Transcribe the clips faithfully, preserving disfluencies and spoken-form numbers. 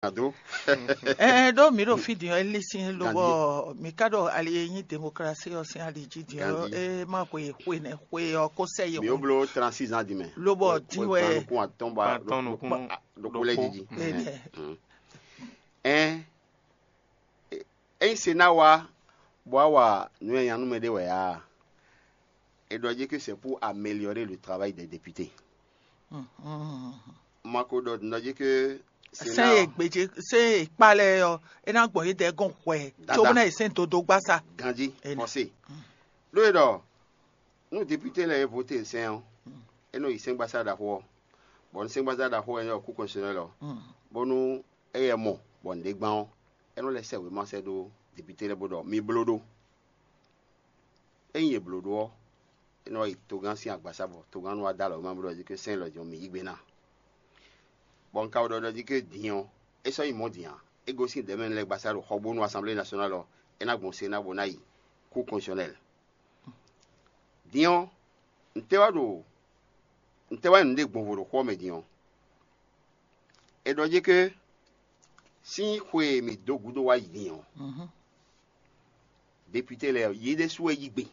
Ado. Ɛɛ ɖó mǐ ɖo fí din ɔ́, é lí sín lobɔ mǐ ka ɖo ali e nyí demokrasi ɔ́ sín ali jí din ɔ́, é ma xwe xwe nɛ xwe ɔ́ kó sɛ yi. Mǐ ó bló trente-six ans din mɛ. Lobɔ din wɛ. Nukún atɔ́n ba. Atɔ́n nukún ɖokpó lɛ́ɛ jiji. Ɛn ényí se ná wá bó wá wa nǔ e nya nú mɛ ɖé wɛ ǎ, è ɖɔ jí que c'est pour améliorer le travail des députés. Ma ko ɖɔ nɔ jí que sɛn e gbèjé sɛn e kpá lɛ́ɛ ɔ́, é ná gbɔn yědɛɛ gɔn hwɛ cóbóná yi sɛn dodó gbá sa. Ganjí fɔsé. Ɖó e ɖɔ nú député lɛ́ɛ e voté sɛn ɔ́, é nɔ yi sɛngbasá ɖaxó ɔ́, bɔ nú sɛngbasá ɖaxó ɔ́ nyí ɔ́ kú kɔnsɛnɛ lɔ, bónú éyɛ́ mɔ bɔ nǔɖé gbán ɔ́, é nɔ lɛ́ sɛ wěma sɛ́ ɖó député lɛ́ɛ bó ɖɔ mi bló ɖó. Ényí è blǒ ɖó ɔ́, é nɔ yi togán sín agbasá bɔ togán nɔ wá dó alɔ wěma bó ɖɔ jí ké sɛ́n lɔ jɔn mǐ yí gbe ná. Bɔ un ka wɛ ɖɔ ɖɔ jí ké din ɔ́, é sɔ́ nyí mɔ̌ din ǎ. É gosín dɛ̌mɛnu lɛ́ɛ gbasá ɖo xɔgbónu Assemblée nationale ɔ́, é ná gbɔn se ná bó ná yi kú kɔnsɔnɛl. Din ɔ́, ntɛ́ wá ɖo ntɛ́ wá nǔɖé gbɔn vo ɖo xó ɔ́ mɛ din ɔ́? È ɖɔ jí ké sín xwe e mǐ dó gúdo wá yi din ɔ́, député lɛ́ɛ ɔ́, yě ɖésú wɛ yí gbe,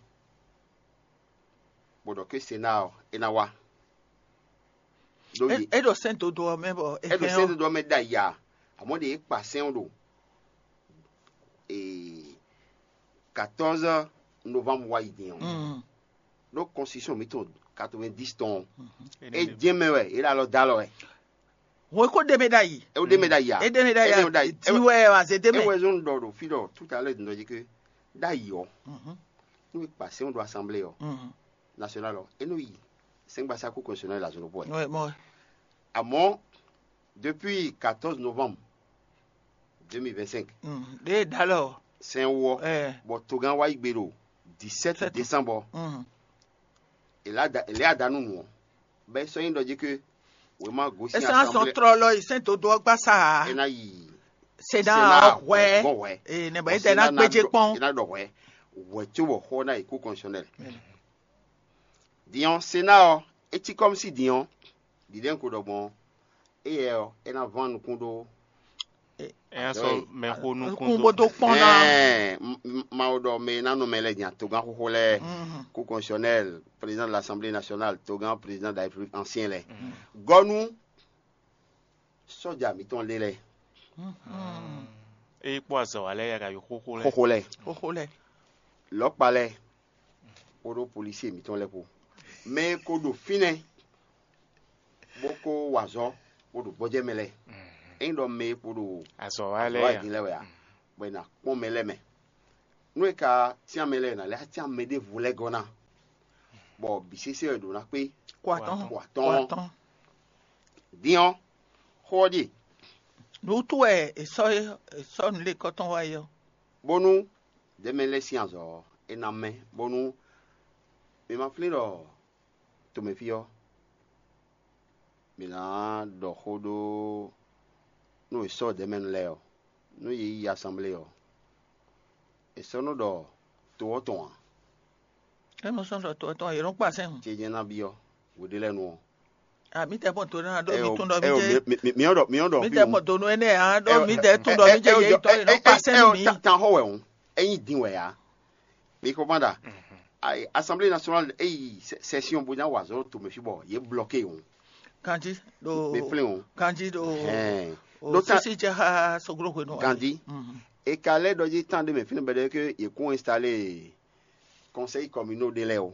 bó ɖɔ ké Senáa ɔ́, é ná wá. Ɖó yě É ɖo sɛ́n dodó ɔ́ mɛ bɔ é é ɖo hɛn sɛ́n ɔ́. Dodó ɔ́ mɛ ɖ'ayǐ ǎ, amɔ̌ ɖě é kpa sɛ́n ɔ́ ɖo ee, quatorze novembre wá yi din ɔ́, Mm. Ɖó constitution mǐtɔn quatre-vingt-dix tɔn ɔ́, é jɛ́n mɛ wɛ, é ɖo alɔ dó alɔ wɛ. Hɔn é kó ɖe mɛ ɖ'ayǐ. É ɖe mɛ ɖ'ayǐ ǎ. É ɖe mɛ ɖ'ayǐ É ɖe mɛ ɖ'ayǐ. Ǎ. Din wɛ wɛ azé ɖé É mɛ. Wɛ zɔn ɖɔ ɖo fí ɖɔ tout à l'heure nɔ jí ké ɖ'ayǐ ɔ́, nú é kpa sɛ́n ɖo assemblée ɔ́, nationale ɔ́, é nɔ yi sɛ́ngbasá kú constitutionnel la zɔn ɖokpó wɛ. Ouais, mɔ. Amɔ̌, depuis quatorze novembre deux mille vingt-cinq, Mm, ɖe dalɔ. Sɛn wɔ, Eh. Bɔ togán wá yi gbe ɖo dix-sept Sept. Décembre. Mm. Ele ada ele ada nú nǔ ɔ́, bɛ sɔ́ nyí ɖɔ jí ké wěma gosín Esa sɔn assemblée trɔlɔ yi sɛn dodo ɔgbasa. E ná yi Sena Sénat hwɛ. Gbɔn hwɛ. Ee, ne bɔ Bɔ ete na Sénat ná gbedze ɖɔ- kpɔn. E ná ɖɔ hwɛ. Hwɛ tso bɔ xɔ ná yi kú constitutionnel. Din ɔ́, Sena ɔ́, é cí kɔ́mísí din ɔ́, ɖiɖɛ ko ɖɔ gbɔn éyɛ ɔ́, é ná ván nukún ɖó É ná sɔ́ mɛxó nukún Nukún dó. Bó dó kpɔ́n ná. Ɛɛ, m- m- Mawu ɖɔ mɛ e ná nɔ mɛ lɛ́ɛ nya togán xóxó lɛ́ɛ, kú constitutionnel, président de l'Assemblée nationale, togán président de la République ancien lɛ́ɛ. Gɔ́nú sɔ́ja mǐtɔn lé lɛ́ɛ, É kpó azɔ̌ wa lɛ́ɛ ya ka yi xóxó lɛ́ɛ. Xóxó lɛ́ɛ. Xoxo lɛ. Lɔ̌kpa lɛ́ɛ kpódó polísie mǐtɔn lɛ́ɛ kpó. Mɛ e ko ɖo fínɛ́ bó ko wa azɔ̌ bó ɖo gbɔjɛ́ mɛ lɛ́ɛ. Ényí ɖɔ mɛ e kpo ɖo Azɔ̌ wa azɔ̌ lɛ́ɛ wa ya. Din lɛ́ɛ wɛ a, bɔ è nǎ kpɔ́n mɛ lɛ́ɛ mɛ. Nú è ka cyán mɛ lɛ́ɛ è nǎ lɛ́ cyán mɛ ɖěvo lɛ́ɛ gɔ́ ná, bɔ bǐ sésé wɛ ɖǒ ná kpé Kó atɔ́n. Kó atɔ́n. Kó atɔ́n. Din ɔ́, xó ɔ́ ɖíe. Nǔ wútu wɛ è sɔ́ é- è sɔ́ nǔlékɔ́tɔn wá é ɔ́. Bónú dɛ̌mɛ lɛ́ɛ sín azɔ̌ ɔ́, é ná mɛ, bónú mi ma flín ɖɔ tomɛfí ɔ́, mǐ ná ɖɔ xó ɖó nú è sɔ́ dɛ̌mɛnu lɛ́ɛ ɔ́, nú yě yi asanblée ɔ́, è sɔ́ nɔ ɖɔ to ɔ́ tɔn ǎ. É nɔ sɔ́ ɖɔ to ɔ́ tɔn yě nɔ kpa sɛ́n hǔn. Céjɛ́n ná byɔ́ hweɖélɛ́nu ɔ́. Ah, mi tɛ mɔ to ná ɖo mi tún ɖɔ mi jɛ. Mi ɔ́ ɖɔ mi ɔ́ ɖɔ Mi tɛ mɔ to nú énɛ́ ǎ ɖɔ mi tɛ tún ɖɔ mi jɛ yě tɔ yě nɔ kpa sɛ́n nú mi. Tan xɔ wɛ hǔn, é nyí din wɛ ǎ. Mi ko ma ɖa. Assemblée nationale é yi session bó ná wa azɔ̌ ɖo tomɛ fí bɔ yě blɔké hǔn. Kanji ɖo Mi flín hǔn. Kanji ɖo Hɛn. O Ɖó ta- sisi jɛ xa soglo hwenu. Gandhi. Mhm. E ka lɛ́ ɖɔ jí tán ɖé mɛ fínɛ́ bɛɖɛ ke yě kún installé conseil communaux ɖé lɛ́ɛ o.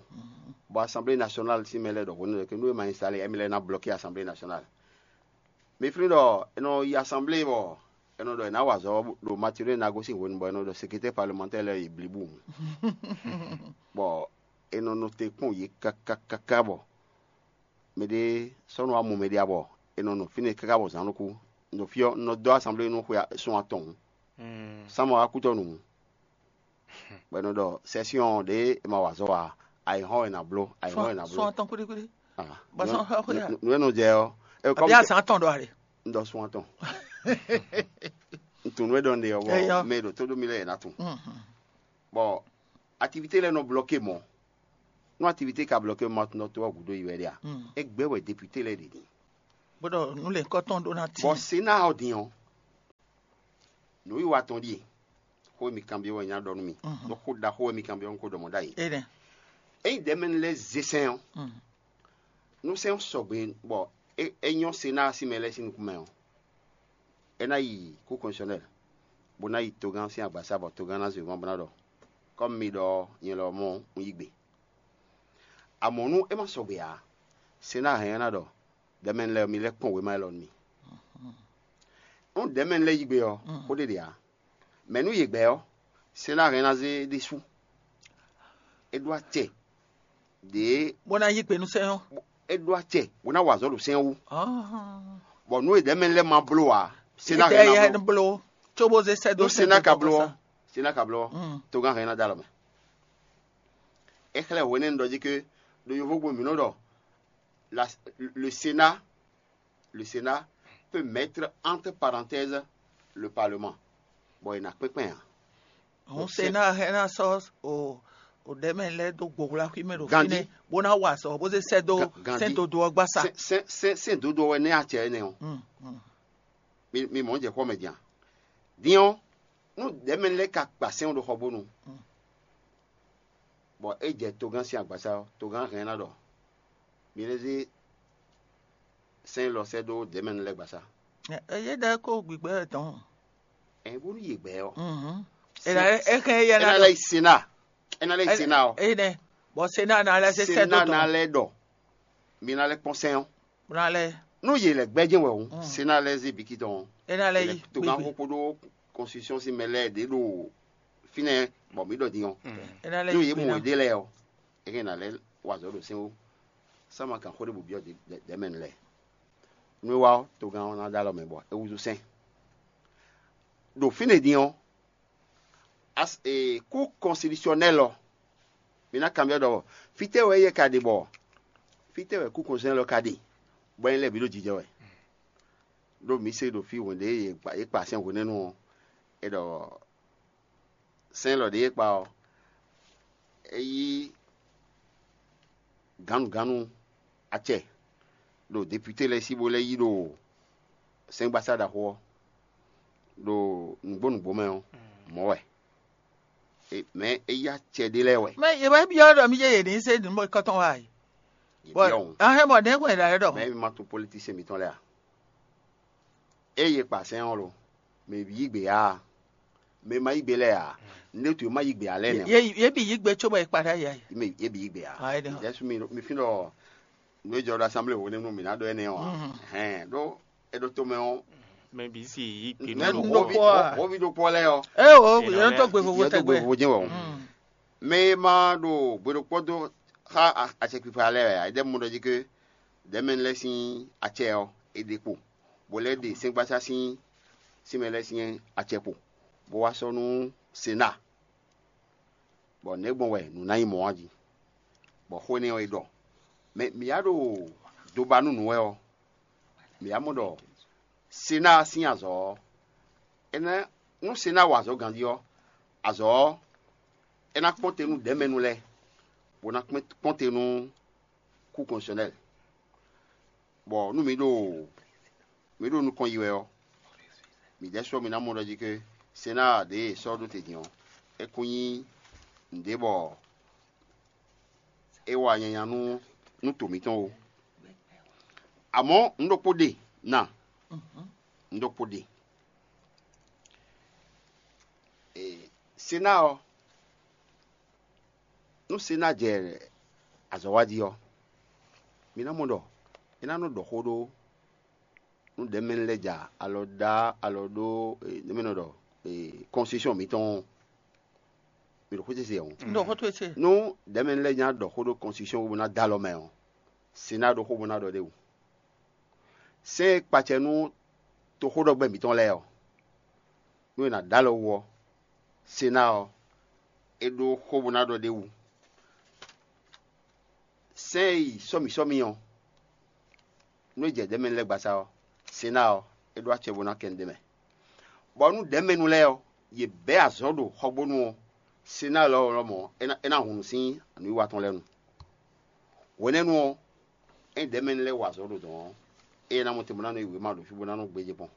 Bɔ assemblée nationale sín mɛ lɛ́ɛ ɖɔ hwenu ɖɔ ke nú é ma installé, émí lɛ́ɛ ná bloqué assemblée nationale. Mi flín ɖɔ è nɔ yi assemblée bɔ è nɔ ɖɔ è nǎ wa azɔ̌ ɖo Mathurin Nago sín hwenu bɔ è nɔ ɖɔ secrétaire parlementaire lɛ́ɛ yi blibu. Bɔ è nɔ nɔ te kpɔ́n yě káká káká bɔ mɛɖé sɔ́ nɔ wá mɔ mɛɖé ǎ bɔ è nɔ nɔ fínɛ́ káká bɔ zǎn nɔ kú. Nɔ fí ɔ́, un nɔ dó assemblée nú xwe sun atɔn. Sánmɔ wá kútɔ́ nǔ. Bɔ è nɔ ɖɔ session ɖě è ma wa azɔ̌ ǎ, ayǐhɔ́n è nǎ bló, ayǐhɔ́n è nǎ bló. Sɔn atɔn kwíɖíkwíɖí. Ah, Bɔ sɔn xɔ xɔ ya. Nǔ e nɔ jɛ ɔ́, e Àbí azǎn atɔn ɖɔ a ɖe. Un ɖɔ sun atɔn. Un tunú e ɖɔ un ɖe ɔ́, Eyɔ. Mɛ e ɖo tó ɖó mi lɛ́ɛ è nǎ tun. Mhm. Bɔ activité lɛ́ɛ nɔ bloqué mɔ̌. Nú activité ka bloqué mɔ̌, a tunɔ tó ɔ́ gǔdo yi wɛ ɖe a? Mm. Égbé wɛ député lɛ́ɛ ɖe din. Bó ɖɔ nú lě kɔ́tɔn ɖó ná tín. Bɔ Sénat ɔ́ din ɔ́, Nǔwiwa tɔn ɖíe, xó e mi kanbyɔ́ wɛ nyá ɖɔ nú mi. Ɖó xó ɖaxó wɛ mi kanbyɔ́ nú xó ɖɔ mɔ̌ ɖ'ayǐ. Ényí ɖɛ̌mɛnu lɛ́ɛ zé sɛ́n ɔ́, nú sɛ́n ɔ́ sɔgbe bɔ é nyɔ́ Senáa sín mɛ lɛ́ɛ sín nukún mɛ ɔ́, é ná yi kú kɔnsɔnɛ́l, bó ná yi togán sín agbaza bɔ togán ná zwe gɔ́n bó ná ɖɔ: Kɔ́ mi ɖɔ nyɛ lɔ mɔ un yí gbe. Amɔ̌ nú é ma sɔgbe ǎ, Senáa hɛn ɔ́ ná ɖɔ: Ɖɛ̌mɛnu lɛ́ɛ, mi lɛ́ kpɔ́n wěma élɔ́ nú mì. Nú ɖɛ̌mɛnu lɛ́ɛ yí gbe ɔ́, xó ɖé ɖe ǎ. Mɛ̌ nú yě gbɛ́ ɔ́, Senáa hɛn ná zé ɖésú. É ɖó acɛ ɖě bó ná yí gbe nú sɛ́n ɔ́. É ɖó acɛ bó ná wa azɔ̌ ɖo sɛ́n ɔ́ wú. Bɔ nǔ e ɖɛ̌mɛnu lɛ́ɛ ma bló ǎ, Senáa hɛn ná bló. Bló, cóbó zé sɛ́ dó nú Senáa ka bló ɔ́, Senáa ka bló ɔ́, togán hɛn ná dó alɔ mɛ. É xlɛ́ hwenɛ́nu ɖɔ jí ké ɖo yovógbe mǐ nɔ ɖɔ la, le Sénat, le Sénat peut mettre entre parenthèses le Parlement. Bɔ è nǎ kpɛ́n kpɛ́n ǎ. Hǔn Senáa hɛn ná sɔ́ o o ɖɛ̌mɛ lɛ́ɛ dó gbohwlaxwí mɛ ɖo Gandhi. Fínɛ́, bó ná wa azɔ̌ bó zé sɛ́ dó Ga- Gandhi. Sɛ́n dodó ɔ́ gbasá. Sɛ́n sɛ́n sɛ́n sɛ́n dodó wɛ nɛ́ acɛ énɛ́ ɔ́. Mm, mm. Mi mi mɔ̌ jɛ xɔ mɛ din a? Din ɔ́, nú ɖɛ̌mɛ lɛ́ɛ ka kpa sɛ́n ɔ́ ɖo xɔ bónu, bɔ é jɛ togán sín agbaza ɔ́, togán hɛn ná ɖɔ mi lɛ́ zé sɛ́n élɔ́ sɛ́ dó ɖɛ̌mɛnu lɛ́ɛ gbasá. Ɛ yé ɖɛ́ kó gbigbɛ tɔn. Ɛn bónú yě gbɛ ɔ́, Mhm. Ena eke ye é ná na lɛ́ yi sena, é ná lɛ́ yi sena ɔ́, Ene. Bɔ sena na lɛ se sɛ sena do ná dɔn. Lɛ́ ɖɔ mi ná lɛ́ kpɔ́n sɛ́n ɔ́. Na lɛ Nú yě lɛ́ gbɛ́ jɛ́n wɛ hǔn, Mm. Sena lɛ́ zé biki tɔn ɔ́, É ná lɛ yě lɛ́ yi togán gbigbe. Xó kpódó constitution sín mɛ lɛ́ɛ ɖě ɖo fínɛ́ bɔ mí ɖɔ din ɔ́. É ná lɛ Nú yi yě gbigbe mɔ ná. Yě ɖe lɛ́ɛ ɔ́, é hɛn ná lɛ́ wa azɔ̌ ɖo sɛ́n ó. Sama kan xó ɖé bǔ byɔ́ ɖɛ̌mɛnu lɛ́ɛ. Nú é wá ɔ́, togán ɔ́ ná ɖó alɔ mɛ bɔ é húzú sɛ́n. Ɖo fínɛ́ din ɔ́, as- e, kú kɔnsitisiyɔnɛ́l ɔ́, mi ná kanbyɔ́ ɖɔ fítɛ́ wɛ éyɛ́ ka ɖe bɔ fítɛ́ wɛ kú kɔnsitisiyɔnɛ́l ɔ́ ka ɖe, bɔ é lɛ́ bǐ ɖo jijɛ wɛ. Ɖó mǐ se ɖo fí hwɛ̌n ɖě e yě kpa sɛ́n hwenɛ́nu ɔ́, é ɖɔ sɛ́n élɔ́ ɖě e kpa ɔ́, é yí gǎnnugǎnnu acɛ ɖo depite lɛ́ɛ sí bó lɛ́ yí ɖo sɛ́ngbasá ɖaxó ɔ́, ɖo nǔgbó nǔgbó mɛ ɔ́, mɔ̌ wɛ. Mɛ é yí acɛ ɖé lɛ́ɛ wɛ. Mɛ yě wɛ byɔ́ ɖɔ mí yé yě ní se nǔ kɔtɔn wá yi. Yě Bɔ byɔ́ hǔn. Ahɛn bɔ nɛ̌ gbɔn yě ɖɔ? Mɛ mi ma tunwun politisiyɛn mǐtɔn lɛ́ɛ a? Ée yě kpa sɛ́n ɔ́ lo, mɛ bǐ yí gbe ǎ, mɛ e ma yí gbe lɛ́ɛ ǎ, nǔɖé tu e ma yí gbe ǎ lɛ́ɛ nɛ́. Yě yě bǐ yí gbe cóbɔ è kpa ɖ'ayǐ a? Mɛ yě bǐ yí gbe ǎ. Ah, é ɖe. Jɛsu mi mi fín ɖɔ nǔ e jɔ ɖo asanblée hwenɛ́nu mǐ ná ɖɔ énɛ́ ɔ́ ǎ. Hɛn ɖó é ɖo tomɛ ɔ́, Mɛ bǐ si yí gbe nú nɛ́ nú nǔ ɖokpó. Hwoví ɖokpó lɛ́ɛ ɔ́, É o, Yě nɔ yě nɔ lɛ́ tó gbe vovo yě dó gbe tɛgbɛ. Vovo jɛ́n wɛ o. Mm. Mɛ e ma ɖo gbe ɖokpó dó xá a- acɛkpikpa lɛ́ɛ wɛ ǎ, é ɖɛ́ mɔ ɖɔ jí ké ɖɛ̌mɛnu lɛ́ɛ sín acɛ ɔ́, è ɖe kpo, bó lɛ́ ɖe sɛ́ngbasá sín sín mɛ lɛ́ɛ sín acɛ kpo, bó wá sɔ́ nú Sena, bɔ nɛ̌ gbɔn wɛ nǔ ná nyí mɔ̌ ɔ́ jí? Bɔ xó énɛ́ ɔ́, è ɖɔ mɛ mǐ wá ɖo do ba nú nǔ wɛ ɔ́, mǐ wá mɔ ɖɔ Sena sín azɔ̌ ɔ́, é ná nú Sena wa azɔ̌ ganjí ɔ́, azɔ̌ ɔ́, é ná kpɔ́n te nú ɖɛ̌mɛnu lɛ́ɛ, bó ná kpɔ́n te nú kú kɔnsɔnɛ́l. Bɔ nú mi ɖo mi ɖo nukɔn yi wɛ ɔ́, mi ɖɛ́ sɔ́ mi ná mɔ ɖɔ jí ké Sena ɖě e è sɔ́ ɖó te din ɔ́, é kún nyí nǔɖé bɔ é wa nyanya nú nú to mǐtɔn ó. Amɔ̌ un ɖokpó ɖe na, un ɖokpó ɖe. Sena ɔ́, nú Sena jɛ azɔ̌ wa jí ɔ́, mi ná mɔ ɖɔ é ná nɔ ɖɔ xó ɖó nú ɖɛ̌mɛnu lɛ́ɛ ja alɔ ɖá alɔ ɖó nɛ̌ mɛ nɔ ɖɔ kɔnsitúsɔn mǐtɔn ɔ́, mi ɖo xwé ce se ɔ́. Un ɖo xó towe ce. Nú ɖɛ̌mɛnu lɛ́ɛ nya ɖɔ xó ɖó kɔnsitúsɔn bó ná dó alɔ mɛ ɔ́, Sena ɖó xó bó ná ɖɔ ɖ'é wú. Sɛ́n e kpacɛ nú toxóɖɔgbɛ́ mǐtɔn lɛ́ɛ ɔ́, nú è nǎ ɖó alɔ wú ɔ́, Sena ɔ́, é ɖó xó bó ná ɖɔ ɖ'é wú. Sɛ́n e yi sɔ́mǐ sɔ́mǐ ɔ́, nú é jɛ ɖɛ̌mɛnu lɛ́ɛ gbasa ɔ́, Sena ɔ́, é ɖó acɛ bó ná kɛ nǔɖé mɛ. Bɔ nú ɖɛ̌mɛnu lɛ́ɛ ɔ́, yě bɛ́ azɔ̌ ɖo xɔgbónu ɔ́, Sena lɔmɔ̌ é ná hun nǔ sín nǔwiwa tɔn lɛ́ɛ nu. Hwenɛ́nu ɔ́, ényí ɖɛ̌mɛnu lɛ́ɛ wa azɔ̌ ɖo dɔ̌n ɔ́, éyɛ́ ná mɔ te bó ná nɔ yi wěma ɖo fí bó ná nɔ gbéjé kpɔ́n.